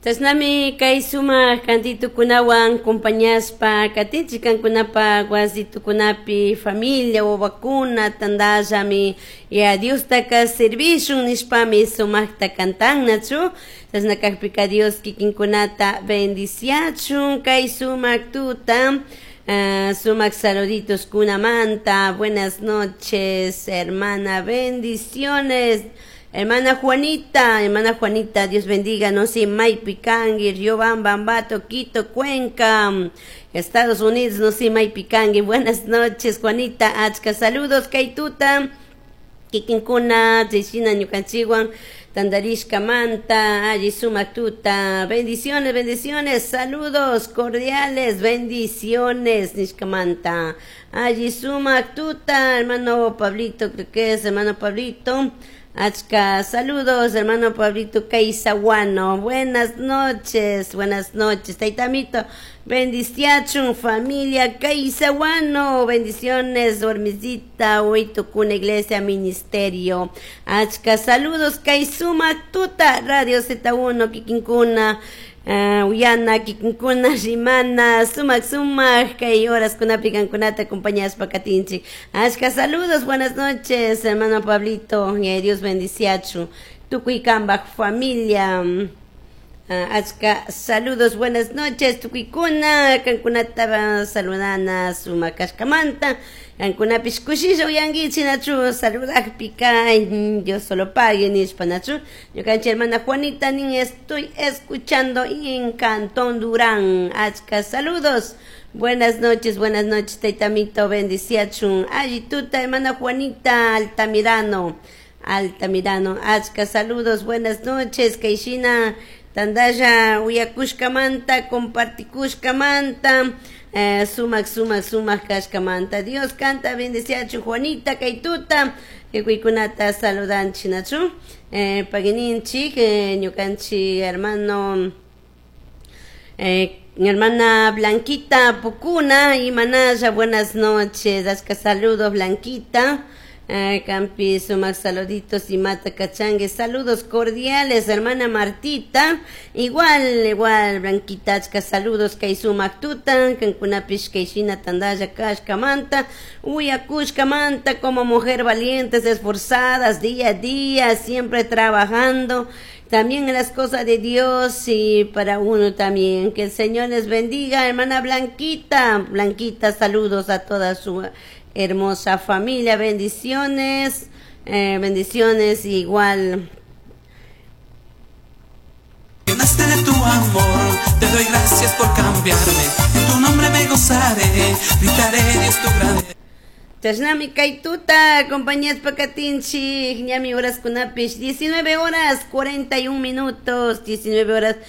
Chashnami kay sumak kantitukunawan compañashpa katinchik kankunapa wasitukunapi familia wawakuna tantallami ya Diostaka servishun nishpami sumakta kantannachu. Chashna kakpika Dios kikinkunata bendiciachun kay sumak tuta. Sumak saluditos kunamanta. Buenas noches, hermana, bendiciones. Hermana Juanita, hermana Juanita, Dios bendiga, no sé, maypi kanki, Riobamba, Ambato, Quito, Cuenca, Estados Unidos, no sé, maypi kanki. Buenas noches, Juanita, achka saludos, kay tuta, kikinkuna, chayshina ñukanchikwan, tantarishkamanta, alli sumak tuta, bendiciones, bendiciones, saludos cordiales, bendiciones, nishkamanta, alli sumak tuta, hermano Pablito, creo que es hermano Pablito. Achka, saludos, hermano Pablito Caizaguano. Buenas noches, Taitamito. Bendiciachun, familia Caizaguano. Bendiciones, Dormisita, Huitucuna Iglesia Ministerio. Achka, saludos, kay sumak tuta, Radio Z1, kikinkuna. Uyana, kikinkuna, rimana, sumak, sumak, kay horas kunapi kankunata acompañashpa katinchik. Achka saludos, buenas noches, hermano Pablito, y Dios bendiciachu. Tukuy kambaj familia. Achka saludos, buenas noches, tukuykuna, kankunata saludana sumak kashkamanta. Kankunapish kushilla uyankichik nachu saludakpika, Dios solo pague nishpa nachu. Ñukanchik hermana Juanita nin estoy escuchando en Cantón Durán. Achka saludos. Buenas noches, Taitamito, bendiciachun. Alli tuta, hermana Juanita Altamirano. Altamirano, achka saludos, buenas noches, Kaishina. Tandalla uyakushkamanta, compartikushkamanta, sumak, sumak, sumak kashkamanta. Dios kanta, bendiciachu Juanita, kay tuta, tukuykunata saludanchik nachu. Pagininchik, ñukanchik hermano, mi hermana Blanquita Pucuna y Manaya, buenas noches, achka saludos Blanquita. Campi, sumak saluditos y mata cachangue, saludos cordiales, hermana Martita, igual, igual, Blanquita, achka saludos, kay sumak tuta, kankunapish kayshina tandalla kashkamanta, uyakushkamanta, como mujer valientes, esforzadas, día a día, siempre trabajando, también en las cosas de Dios y para uno también. Que el Señor les bendiga, hermana Blanquita. Blanquita, saludos a toda su hermosa familia, bendiciones, bendiciones igual. Llenaste de tu amor, te doy gracias por cambiarme, en tu nombre me gozaré, gritaré Dios tu grande. Chashnami kay tuta, compañías pakatinchik, ñami horas kunapish, 19 horas 41 minutos, 19 horas.